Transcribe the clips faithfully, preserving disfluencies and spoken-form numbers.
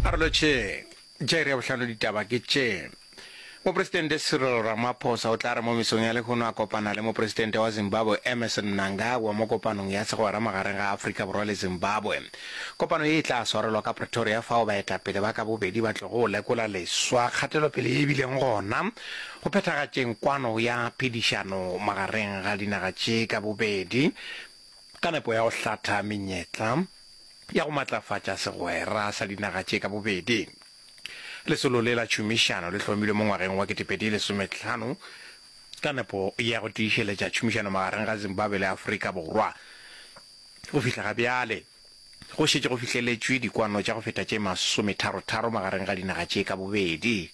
A re lotšheng. Tša iri ya bohlano ditaba ke tše. Mopresidente Cyril Ramaphosa o tla re mo mesong ya lehono a kopana le Mopresidente wa Zimbabwe Emmerson Mnangagwa mo kopanong ya segwera magareng ga Afrika Borwa le Zimbabwe. Kopano ye e tla swarelwa ka Pretoria fao baetapele ba ka bobedi ba tlogo go lekola leswa kgatelopele ye e bileng gona go phethagatšeng kwano ya phedišano magareng ga dinaga tše ka bobedi ka nepo ya go hlatha menyetla ya go matlafatša segwera sa dinaga tše ka bobedi. Lesolo le la tšhomišano le hlomilwe mo ngwageng wa ketepedi lesomehlano ka nepo ya go tiišeletša tšhomišano magareng ga Zimbabwe le Afrika Borwa. Go fihla ga bjale, go šetše go fihleletšwe dikwano tša go feta tše masometharotharo magareng ga dinaga tše ka bobedi.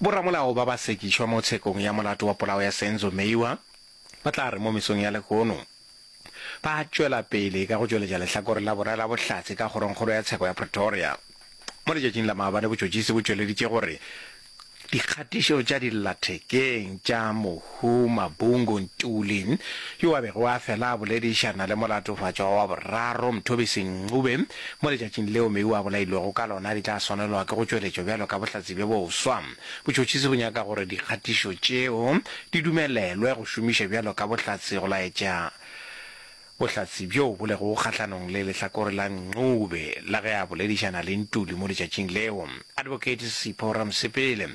Boramolao ba ba sekišwa mo tshekong ya molato wa polao ya Senzo Meyiwa ba tla re mo mesong ya lehono ba tšwela pele ka go tšweletša lehlakore la bona la bohlatse ka kgorongkgolo ya tsheko ya Pretoria. Mo letšatšing la maabane botšhotšhisi bo tšweleditše gore dikgatišo tša dillathekeng tša mohu Mabungu Ntuli yo a bego a fela a boledišana le molatofatšwa wa boraro Mthobisi Ncube mo letšatšing leo Meyiwa a bolailwego ka lona di tla swanelwa ke go tšweletšwa bjalo ka bohlatse bjo boswa. Botšhotšhisi bo nyaka gore dikgatišo tšeo di dumelelwe go šomiša bjalo ka bohlatse go laetša bohlatse bjo bo lego kgahlanong le lehlakore la Ncube la ge a boledišana le Ntuli mo letšatšing leo. Advocate Sipho Ramosepele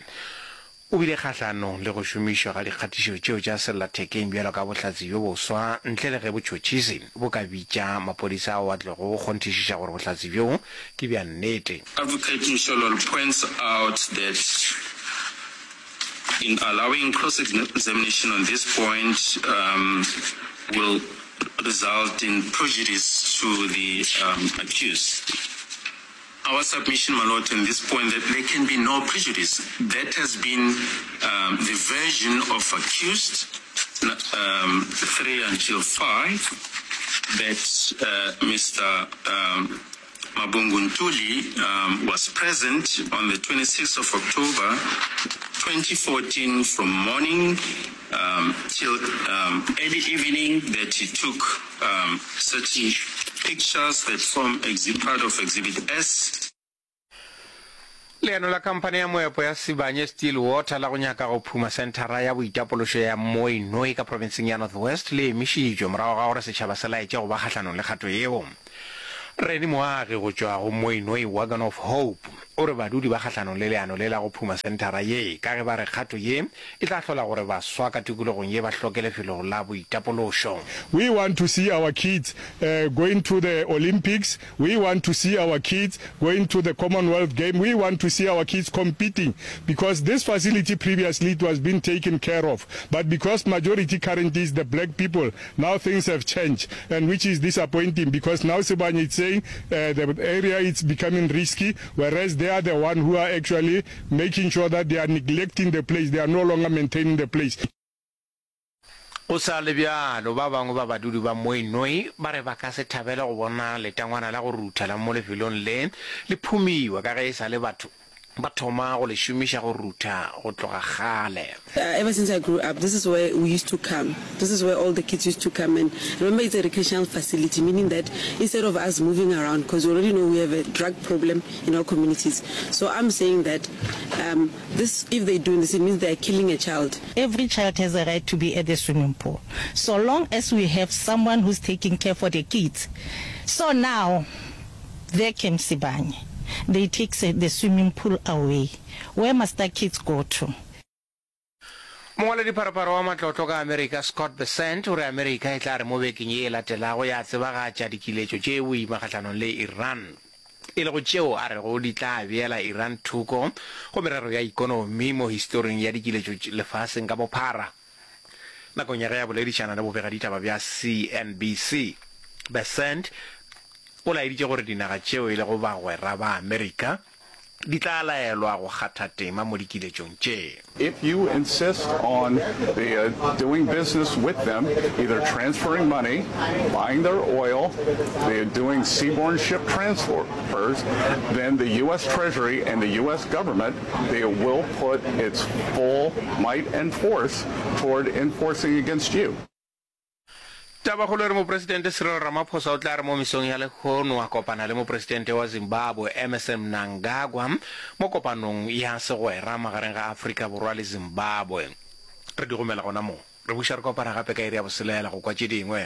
o bile kgahlanong le go šomišwa ga dikgatišo tšeo tša sellathekeng bjalo ka bohlatse bjo boswa ntle le ge botšhotšhisi bo ka bitša maphodisa ao a tlogo go kgonthišiša gore bohlatse bjo ke bja nnete. Advocate Mshololo points out that in allowing cross-examination on this point um, will result in prejudice to the um, accused. Our submission, my lord, on this point, that there can be no prejudice. That has been um, the version of accused um, three until five, that uh, Mr. Um, Mabungu Ntuli um, was present on the twenty-sixth of October twenty fourteen from morning um, till um, early evening, that he took um, certain pictures that form exhi-, part of Exhibit S. Leano la khamphani ya moepo ya Sibanye Stillwater la go nyaka go phuma senthara ya boitapološo ya Mooinooi ka profenseng ya North West le emišitšwe morago ga gore setšhaba se laetše go ba kgahlanong le kgato yeo. Reni Moagi go tšwa go Mooinooi Wagon of Hope o re badudi ba kgahlanong le leano le la go phuma senthara ye ka ge ba re kgato ye e tla hlola gore baswa ka tikologong ye ba hloke lefelo la boitapološo. We want to see our kids, uh, going to the Olympics. We want to see our kids going to the Commonwealth Game. We want to see our kids competing, because this facility previously it was being taken care of. But because majority currently is the black people, now things have changed, and which is disappointing, because now Sibanye is saying, uh, the area is becoming risky, whereas they are the one who are actually making sure that they are neglecting the place. They are no longer maintaining the place. Go sa le bjalo, ba bangwe ba badudi ba Mooinooi ba re ba ka se thabele go bona letangwana la go rutha la mo lefelong le le phumiwa ka ge e sa le batho ba thoma go le šomiša go rutha go tloga kgale. Uh, ever since I grew up, this is where we used to come. This is where all the kids used to come. And remember, it's a recreational facility, meaning that instead of us moving around, 'cause we already know we have a drug problem in our communities. So I'm saying that, um, this, if they're doing this, it means they're killing a child. Every child has a right to be at the swimming pool, so long as we have someone who's taking care for the kids. So now, there came Sibanye. They take the swimming pool away. Where must the kids go to? Mongwaledipharopharo wa matlotlo ka Amerika Scott Bessent o re Amerika e tla re mo bekeng ye e latelago ya tsebagatša dikiletšo tše boima kgahlanong le Iran, e lego tšeo a rego di tla beela Iran thoko go merero ya ikonomi mo historing ya dikiletšo lefaseng ka bophara. Nakong ya ge a boledišana le bobegaditaba bja C N B C, Bessent o laeditše gore dinaga tšeo e lego bagwera ba Amerika di tla laelwa go kgatha tema mo dikiletšong tše. If you insist on the, uh, doing business with them, either transferring money, buying their oil, the, doing seaborne ship transfers, then the U S Treasury and the U S government, they will put its full might and force toward enforcing against you. Tabakgolo e re Mopresidente Cyril Ramaphosa o tla re mo mesong ya lehono a kopana le Mopresidente wa Zimbabwe Emmerson Mnangagwa mo kopanong ya segwera magareng ga Afrika Borwa le Zimbabwe. Re di gomela gona mo. Re buša re kopana gape ka iri ya boselela go kwa tše dingwe.